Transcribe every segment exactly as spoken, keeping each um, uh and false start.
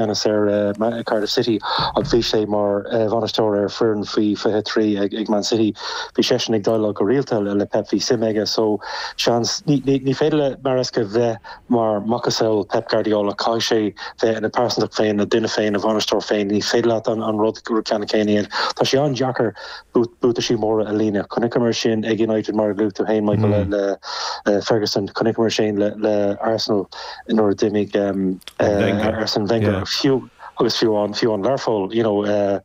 ceannas ar uh, Cardiff City ach bhí sé mar uh, bhainisteoir ar foireann faoi fiche trí ag, ag Man City bhí seisean ag déileáil go rialta le Pep bhí suim aige so seans ní, ní, ní féidir le Maresca bheith mar macasamhail Pep Guardiola caithfidh sé bheith ina pearsantacht féin a duine féin a bhainisteoir féin ní féidir leat an, an rud gur ceanna céanna Tá sé an-deacair buataisí móra a líonadh Chonaiceamar sin ag United mar luaigh tú féin Michael mm. le, le Ferguson chonaiceamar sin le, le Arsenal nuair a d'imigh um, uh, Arsene Wenger yeah. fiú agus fiú an fiú an Learpholl you know uh,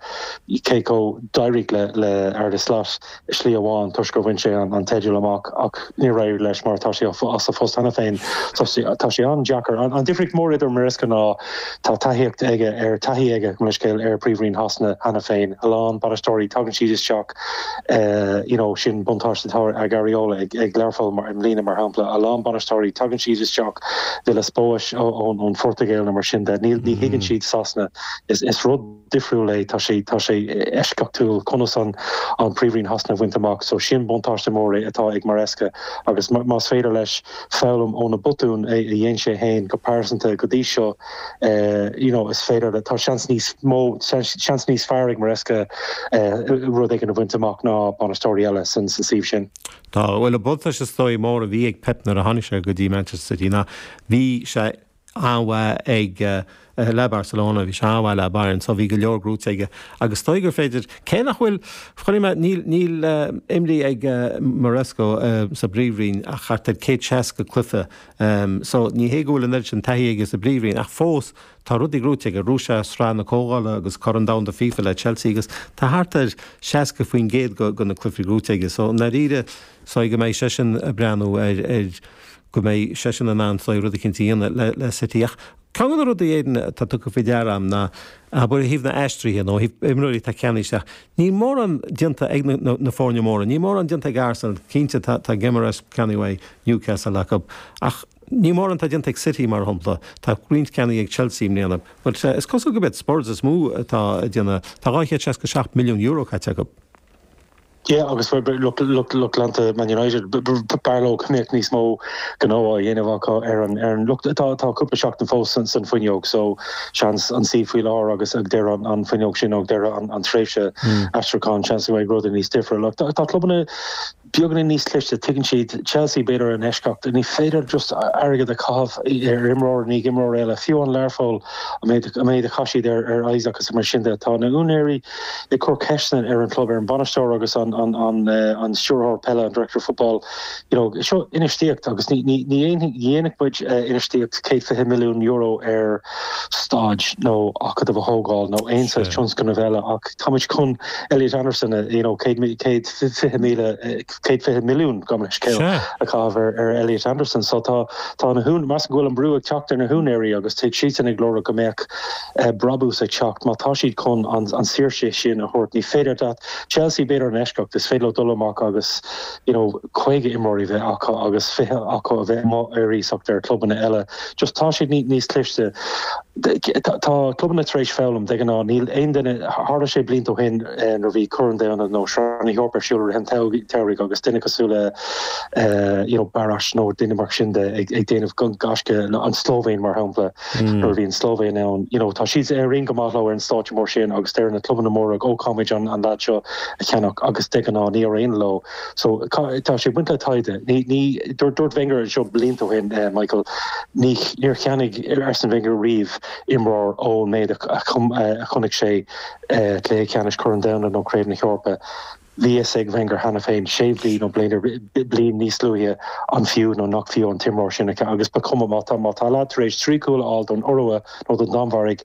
cé go d'éirigh le le Arne Slot slí amháin toisc gur bhain sé an, an teideal amach ach ní raibh leis mar tá sé as a phost cheana féin tá sé an-deacair an, an difríocht mór idir Maresca ná tá taithíocht aige ar taithí aige go scéil ar Príomhroinn Shasana cheana féin a lán bainisteoirí tagann siad isteach uh, you know, sin buntáiste atá ag Guardiola ag, ag Learpholl mar i mbliana mar shampla a lán bainisteoirí tagann siad isteach Villas-Boas ón ón Phortaingéil mar sin de ní ní thuigeann siad Sasana is is rud difriúil é tá sé tá sé eisceachtúil conas an an Príomhroinn Shasana a bhaint amach so sin buntáiste mór é atá ag Maresca agus más féidir leis foghlaim ó na botúin a dhein sé féin go pearsanta go dtí seo uh, you know, is féidir le tá seans níos mó seans níos fearr ag Maresca uh, rud éigin a bhaint amach ná bainisteoirí eile san san suíomh sin. Tá bhuel an buntáiste is dóigh mór a bhí ag Pep nuair a tháinig sé go dtí Manchester City ná bhí sé an-mhaith ag uh, le Barcelona bhí sé an-mhaith le Bayern so bhí go leor gnóthaithe aige agus dóigh gur féidir cé nach bhfuil chuime níl níl uh, imrithe ag uh, Maresca uh, sa bPríomhroinn ach thart ar céad seasca cluiche um, so ní hé go bhfuil an sin taithí aige sa bPríomhroinn ach fós tá rudaí gnóthaithe aige bhuaigh sé Sraith na Comhdhála agus Corn Domhanda FIFA le Chelsea agus tá thart ar seasca faoin gcéad go go na cluichí gnóthaithe aige so dáiríre so go mbeidh seisean ag breathnú ar ar go mbeidh seisean in ann rud éicint a dhéanamh le, le City ach Ceann de na rudaí éan tá tugtha faoi deara agam ná abair ó thaobh na n-aistrithe nó imreoirí tá ceannaithe isteach. Ní mórán déanta ag na, na, na foirne móra, ní mórán déanta ag Arsenal cinnte tá, tá Guimarães ceannaithe Newcastle acu ach ní mórán tá déanta ag City mar shampla tá roinnt ceannaithe ag Chelsea mbliana, But uh, is cosúil go bit Spurs is mó atá déanamh tá dhá chéad seasca seacht milliún euro caite acu. Yeah, agus lucht lucht leanta Man United b'fhearr leo go mbeadh níos mó gnó á dhéanamh acu ar an ar an lucht tá tá cúpla seachtain fós san san fuinneog so seans an sí faoi láthair agus ag deireadh an, an fuinneog sin ag deireadh an, an tréimhse mm. aistriúcháin seans go mbeidh rudaí níos difriúla. Tá, tá clubanna beagáinín níos cliste tuigeann siad Chelsea b'fhéidir an eisceacht ní féidir just airgead a chaitheamh ar imreoir ní imreoir eile fiú an Learpholl a méid a méid a chaith siad ar ar Isaac agus mar sin de tá na úinéirí ag cur ceisteanna ar an club ar an bainisteoir agus an an an uh, an stiúrthóir peile an director of football you know seo infheistíocht agus ní ní ní dhéanfaidh muid uh, infheistíocht céad fiche milliún euro ar staid nó acadamh a thógáil nó aon saghas tionscnamh eile ach táimid chun Elliot Anderson uh, you know céad céad fiche míle céad fiche milliún gabh mo leithscéal a chaitheamh ar ar Elliot Anderson so tá tá na hún mas bhfuil an brú ag teacht ar na húinéirí agus tá siad ag lorg go mbeadh uh, brabús ag teacht má tá siad chun an, an saoirse sin a thabhairt ní féidir dat Chelsea b'fhéidir an eisceacht is féidir dul amach agus you know caoga imreoirí bheith acu agus fiche acu a bheith ar iasacht ar clubanna eile just tá siad ní níos cliste tá clubanna tar éis foghlaim de ná níl aon duine tharla sé blianta ó shin nuair bhí Corn Domhanda nó Sraith na hEorpa ar siúl an t-samhradh agus duine cosúil le you know Baroš nó duine mar sin de ag ag déanamh gaisce an Slóivéin mar shampla nuair a bhí an Slóivéin ann you know tá siad ar go maith ar an stáitse mór sin agus deir na clubanna móra ó caithfimid an an leaid seo a cheannach agus de ná ní aon leo so tá sé baint le taighde ní ní dúirt Wenger seo blianta ó shin uh, Michael ní níor cheannaigh Arsene Wenger riamh imreoir ón méid a chonaic sé cluiche ceannais Chorn an Domhain nó Craobh na hEorpa. Bhí ag Wenger cheana féin sé mhí nó bliain bliain níos luaithe an fiú nó nach fiú an t-imreoir sin agus ba chuma má tá má tá leaid tar éis trí chúl a fháil don Iorua nó don Danmhairg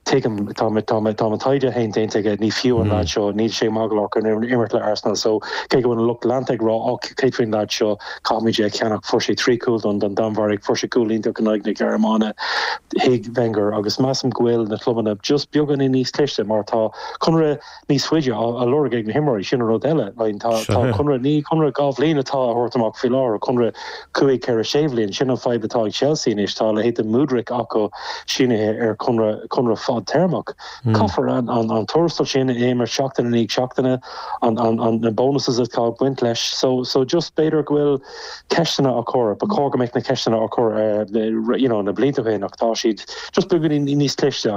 tuigim tá tá tá taighde féin déanta aige ní fiú an leaid seo níl sé maith go leor imirt le Arsenal so cé go an lucht leanta ag rá á céard faoin leaid seo caithfimid é cheannach fuair sé trí chúl don don Danmhairg fuair sé cúl iontach in aghaidh na Gearmáine thuig Wenger agus measaim go bhfuil na clubanna just beagáinín níos cliste mar tá conradh níos faide á lorg ag na himreoirí sin rud eile tá conradh ní conradh dhá bhliain atá á thabhairt amach faoi láthair conradh cúig ceithre sé bliana sin an fhadhb atá ag Chelsea anois tá leithéid Mudryk acu sínithe ar conradh conradh fada fadtéarmach. Caithfear an, an, an tuarastal sin a imirt seachtain i ndiaidh seachtaine an, an, an, na bonuses atá ag baint leis. So, so just b'fhéidir go bhfuil ceisteanna á chur, ba chóir go mbeadh na ceisteanna á chur uh, you know, na blianta féin ach tá siad just beagáinín níos cliste.